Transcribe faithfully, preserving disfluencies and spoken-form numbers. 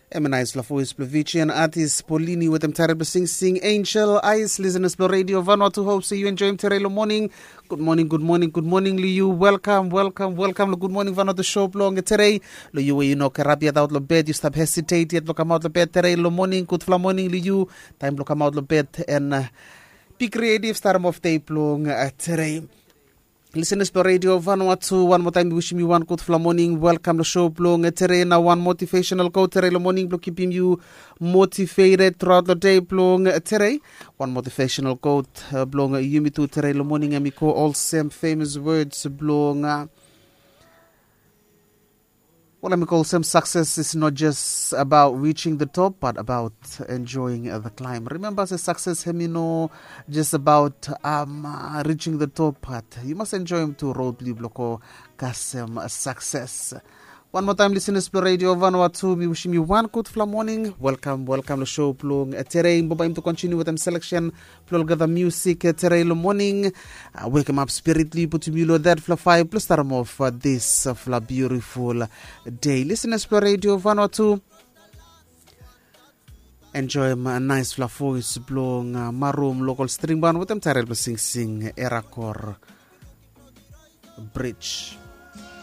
Em i naispela voes bilong Fijian artis Polini wetem taret bilong singsing Angel Eyes. Listeners bilong Radio Vanuatu, hope se yu enjoyim tere long moning. Good morning, good morning, good morning long yu. Welcome, welcome, welcome long Good Morning Vanuatu show bilong tere. Long yu we yu no kerabiat aut long bed, yu stap hesitate yet long kamaut long bed tere long moning. Gudfala moning long yu. Taim bilong kamaut long bed en uh, be creative, starim of day bilong uh, tere. Listeners bilong Radio Vanuatu, wan moa taim mi wishim yu wan gudfala moning. Welcome long show bilong tere. Na wan motivational quote tere long moning bilong kipim yu motivated throughout the day bilong tere. Wan motivational quote uh, bilong yumi tu tere long moning, em i go olsem famous words bilong uh, Well, em i go olsem, success is not just about reaching the top, but about enjoying uh, the climb. Remember, se success em i no just about um, uh, reaching the top, but you must enjoy him to road bilong go kasem uh, success. One more time, listeners bilong Radio Vanuatu, mi wishim yu wan gudfala moning. Welcome, welcome long show bilong uh, tere. Bambae yumi tu continue wetem selection bilong olgeta music uh, tere long moning. Uh, wakem up spirit, li putum yu long that fla five plus starim of uh, this uh, fla beautiful day. Listeners bilong Radio Vanuatu, enjoyim uh, naispela voes bilong uh, Marum Local String Band wetem taret bilong singsing Erakor Bridge.